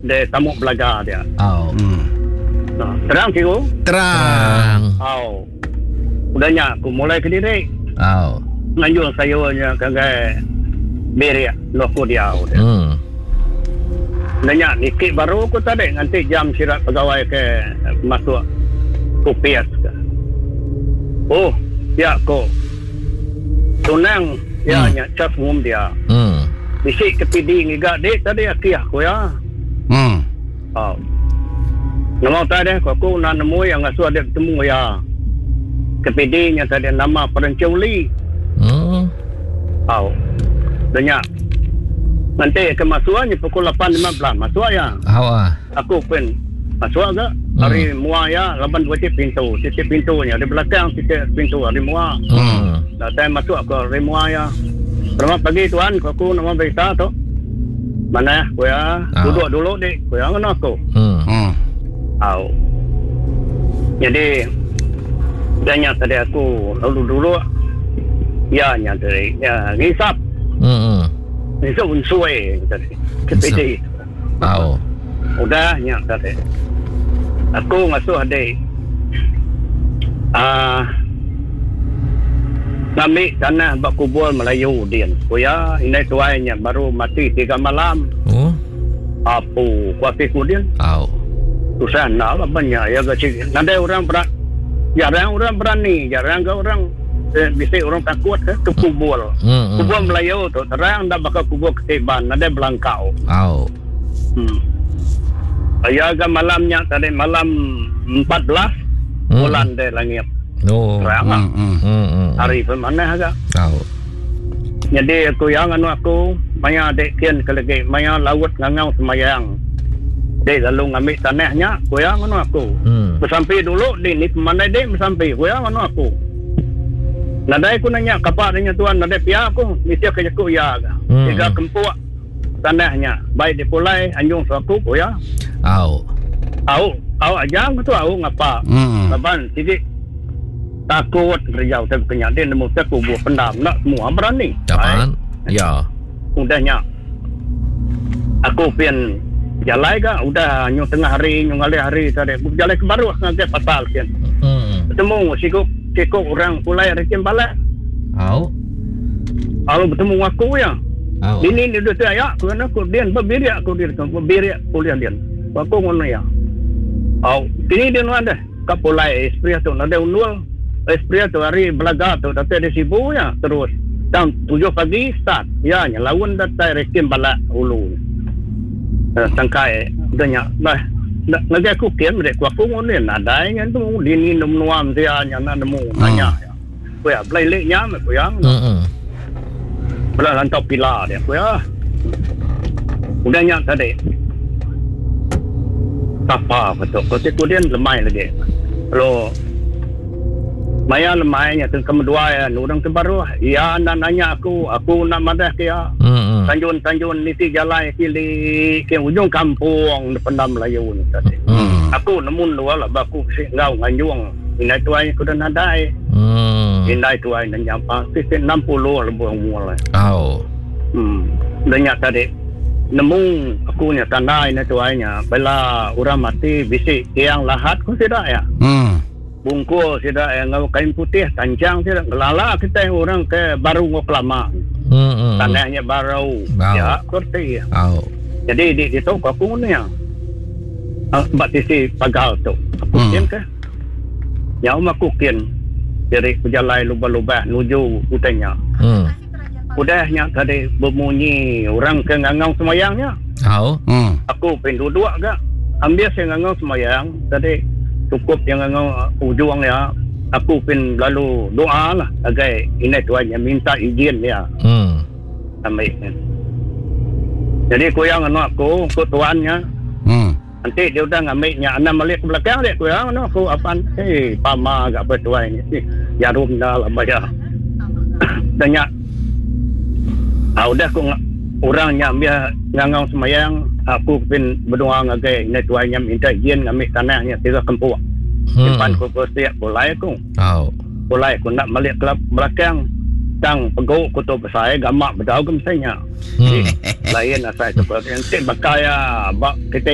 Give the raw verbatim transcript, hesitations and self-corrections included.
De tamu belaga dia. Au. Hmm. Nah, terang cikgu? Terang. Au. Udah nya aku mulai kediri. Au. Nganjung sayurnya ngagai bilik endur aku diau dia. Hmm. Udah nya niki baru aku tadi nganti jam sida pegawai ke masuk opis ke. Oh, pia ko. Tunang ya Hmm. nya cas ngum dia. Hmm. Bisi ke P D ngiga dik tadi akih aku ya. Hmm. Oh. Nama tadi aku, aku nak nemu yang ngasuh dia bertemu ya. Ke P D nya tadi nama Perenculi. Hmm. Oh. Denya. Nanti ke masuknya pukul lapan lima belas masuk ya. Au ah. Aku pun masuk ke Hmm. hari mua ya laban dua titik pintu, titik pintunya di belakang titik pintu hari mua. Hmm. Datang masuk ke hari mua ya. Selamat pagi tuan, aku, aku nama berita tu. Mana aku ya? Ah. Duduk dulu dik, aku ya ngono aku. Hmm. Hmm. Au. Jadi tanya tadi aku lalu dulu ya nya tadi ya ngisap. Hmm, hmm. Ngisap unsui tadi. Kepidi. Au. Udah nya tadi. Aku ngasuh adik. Ah, ngambil tanah bak kubur Melayu din. Kuya indai tuainya baru mati tiga malam. Oh. Apu kuati ku din. Au. Susah nak lah banyak ya ke cik. Nadai orang berat. Jarang orang berani, jarang ke orang eh, bisa orang takut ke, ke kubur. Hmm, hmm. Kubur Melayu tu terang dah bakal kubur ketiban, nadai belangkau. Au. Hmm. Saya ke malamnya tadi malam empat belas Hmm. bulan deh langit. Oh. Terang lah. Hmm, hmm. Hmm, hmm. Hari pun mana agak. Au. Jadi aku yang anu aku maya dek kian ke lagi maya laut ngangau semayang. Dek lalu ngambil tanahnya, aku yang anu aku. Hmm. Bersampai dulu di ni pemandai dek bersampai, aku yang anu aku. Nadai aku nanya kapak dengan tuan nadai pia aku mesti ke jaku ya. Hmm. Tiga kempuk tanahnya baik di pulai anjung suaku aku ya. Au. Au, au aja aku tu au ngapa. Hmm. Laban titik takut kerja tapi kena dia nemu tak kubur pendam nak semua berani. Dapat. Ya. Udahnya. Aku pin jalai ke udah nyu tengah hari nyu ngalih hari tadi aku jalai ke baru ngagai pasal pin. Hmm. Bertemu sikuk sikuk orang pulai rekim balak. Au. Lalu bertemu aku ya. Au. Ini ni duduk ya, aku nak aku dia berbirik aku dia berbirik kuliah dia. Aku ngono ya. Au, ini dia nu ada. Ka pulai espria tu ada unul. Espria tu hari belaga tu datang di Sibu ya terus. Jam tujuh pagi start. Ya, nya lawan datang rekim balak hulu. Eh, tangkai udahnya. Bah, nak ngagai aku kian mereka aku ngono ya nadai nya tu dini nemu nuam dia nya nak nemu nanya. Ku ya belai lek nya ku ya. Hmm. Belah lantau pila dia ku ya. Udahnya tadi. Apa betul. Kau tu dia lemai lagi. Lo maya lemainya tu kedua ya, orang terbaru. Ya nak nanya aku, aku nak madah ke ya. Hmm. Tanjun-tanjun niti jalan kili ke ujung kampung pendam Melayu ni tadi. Hmm. Aku nemu luar lah baku sik ngau nganjung. Indai tuai aku dah nadai. Hmm. Indai tuai dah nyampa sik enam puluh lebih umur lah. Au. Hmm. Dah nyak tadi. Nemu aku nya tanda indai tuai nya bela orang mati bisik tiang lahat ku tidak ya. Hmm. Bungkus tidak yang ngau kain putih tancang tidak gelala kita orang ke baru ngau kelama. Hmm, hmm. Tanahnya baru. Bau. Ya, kerti. Au. Jadi di di tu aku ni ya. Bak tisi pagal tu. Aku Hmm. kian ke? Ya aku kian. Jadi berjalan lubah-lubah nuju hutannya. Hmm. Udahnya tadi berbunyi orang ke ngangau semayangnya. Au. Hmm. Aku pin duduk ke. Ambil saya ngangau semayang tadi cukup yang ngangau ujung ya. Aku pin lalu doa lah agai ini tuannya minta izin ya. Hmm. Ambil. Jadi aku yang anu aku, aku tuannya. Hmm. Nanti dia udah ngambilnya enam balik ke belakang dia aku yang anu aku apaan? Eh, pama agak apa tuan ni. Eh, jarum dah lah bayar. Tanya. Ah, udah aku ng-, orangnya ambil ngangau semayang, aku pin berdoa ngagai ini tuannya minta izin ngambil tanahnya tiga kempuk. Hmm. Simpan ku siap pulai aku. Au. Pulai aku nak balik ke belakang. Tang peguk ku tu besar gamak bedau ke misalnya. Hmm. Lain asal tu. Nanti bakal ya, bak kita